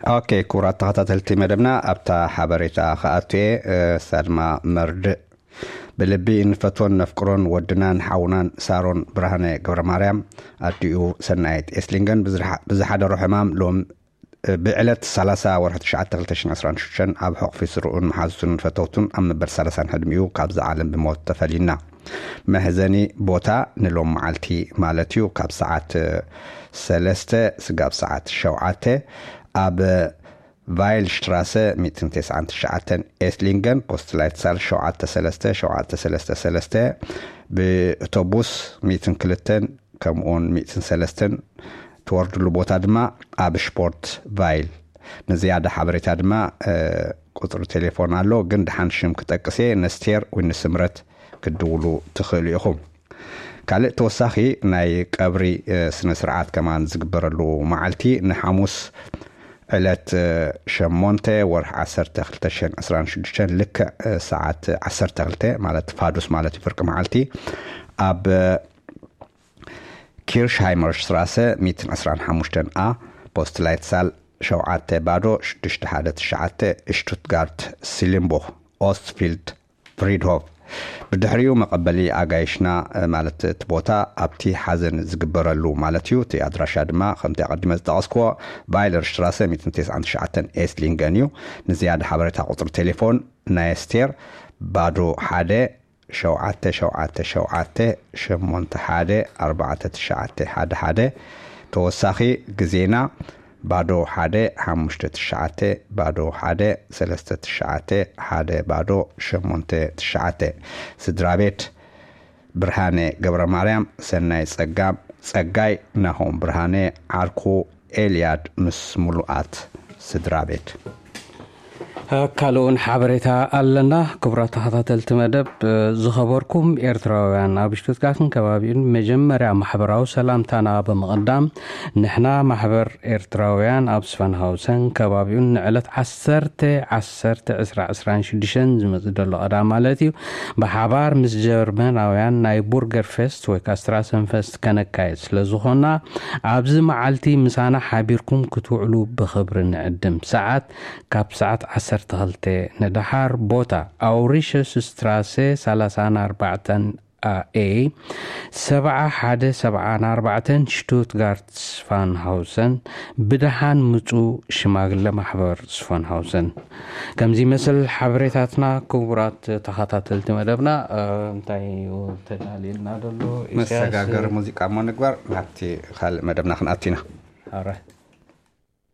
ኦኬ፣ ክቡራት ተኸታተልቲ መደብና፣ ኣብታ ሓበሬታ ክኣቱ እየ። እሳ ድማ መርድእ ብልቢ እንፈትዎን ነፍቅሮን ወድናን ሓውናን ሳሮን ብርሃነ ገብረ ማርያም፣ ኣዲኡ ሰናይት ኤስሊንገን ብዝሓ- ብዝሓደሮ ሕማም ሎም ብዕለት ሰላሳ ወርሒ ትሽዓተ ክልተ ሽሕን ዕስራን ሽዱሽተን ኣብ ሕቑፊ ስርኡን መሓዙቱን ፈተውቱን ኣብ መበል ሰላሳን ዕድሚኡ ካብዛ ዓለም ብሞት ተፈልዩና። መሕዘኒ ቦታ ንሎም መዓልቲ ማለት እዩ፣ ካብ ሰዓት ሰለስተ ስጋብ ሰዓት ሸውዓተ ኣብ ቫይል ሽትራሰ ሚእትን ተስዓን ትሽዓተን ኤስሊንገን ፖስትላይት ሳል ሸውዓተ ሰለስተ ሸውዓተ ሰለስተ ሰለስተ ብእቶቡስ ሚእትን ክልተን ከምኡውን ሚእትን ሰለስተን ትወርድሉ ቦታ ድማ ኣብ ሽፖርት ቫይል። ንዝያዳ ሓበሬታ ድማ ቁፅሪ ቴሌፎን ኣሎ፣ ግን ድሓን ሽም ክጠቅስ እየ። ነስቴር ወይ ንስምረት ክትድውሉ ትኽእሉ ኢኹም። ካልእ ተወሳኺ ናይ ቀብሪ ስነ ስርዓት ከማን ዝግበረሉ መዓልቲ ንሓሙስ ዕለት ሸሞንተ ወርሒ ዓሰርተ ክልተ ሽሕን ዕስራን ሽዱሽተን ልክዕ ሰዓት ዓሰርተ ክልተ ማለት ፋዱስ ማለት እዩ፣ ፍርቂ መዓልቲ ኣብ ኪርሽሃይመር ሽትራሰ ሚእትን ዕስራን ሓሙሽተን ኣ ፖስትላይት ሳል ሸውዓተ ባዶ ሽዱሽተ ሓደ ትሽዓተ ሽቱትጋርት ሲልምቡኽ ኦስትፊልድ ፍሪድሆፍ። ብድሕሪኡ መቐበሊ ኣጋይሽና ማለት እቲ ቦታ ኣብቲ ሓዘን ዝግበረሉ ማለት እዩ። እቲ ኣድራሻ ድማ ከምቲ ኣቐዲመ ዝጠቐስክዎ ቫይለር ሽትራሰ ሚእትን ተስዓን ትሽዓተን ኤስሊንገን እዩ። ንዝያዳ ሓበሬታ ቁፅሪ ቴሌፎን ናይ ስቴር ባዶ ሓደ ሸውዓተ ሸውዓተ ሸውዓተ ሸሞንተ ሓደ ኣርባዕተ ትሽዓተ ሓደ ሓደ። ተወሳኺ ግዜና ባዶ ሓደ ሓሙሽተ ትሽዓተ ባዶ ሓደ ሰለስተ ትሽዓተ ሓደ ባዶ ሸሞንተ ትሽዓተ። ስድራ ቤት ብርሃነ ገብረ ማርያም፣ ሰናይ ጸጋም ጸጋይ፣ ናሆም ብርሃነ፣ ዓርኩ ኤልያድ ምስ ምሉኣት ስድራ ቤት። ካልኡን ሓበሬታ ኣለና። ክቡራት ተኸታተልቲ መደብ፣ ዝኸበርኩም ኤርትራውያን፣ ኣብ ሽቱትጋርትን ከባቢኡን መጀመርያ ማሕበራዊ ሰላምታና ብምቕዳም፣ ንሕና ማሕበር ኤርትራውያን ኣብ ስፈንሃውሰን ከባቢኡን ንዕለት ዓሰርተ ዓሰርተ ዕስራ ዕስራን ሽዱሽተን ዝመጽእ ዘሎ ቀዳም ማለት እዩ፣ ብሓባር ምስ ጀርመናውያን ናይ ቡርገር ፌስት ወይ ካስትራሰን ፌስት ከነካየድ ስለ ዝኾና፣ ኣብዚ መዓልቲ ምሳና ሓቢርኩም ክትውዕሉ ብኽብሪ ንዕድም። ሰዓት ካብ ሰዓት ዓሰርተ ክልተ ንደሓር። ቦታ ኣውሪሸስ ስትራሰ ሰላሳን ኣርባዕተን ኣ ኤ ሰብዓ ሓደ ሰብዓን ኣርባዕተን ሽቱትጋርት ስፋንሃውሰን። ብደሓን ምጹ ሽማግለ ማሕበር ስፋንሃውሰን። ከምዚ ይመስል ሓበሬታትና። ክቡራት ተኸታተልቲ መደብና፣ እ፣ እንታይ እዩ ተዳልየልና ዘሎ? ኢሳያስ? መሰጋገሪ ሙዚቃ እሞ ንግበር፣ ናብቲ ካልእ መደብና ክንኣቱ ኢና። ኣረ።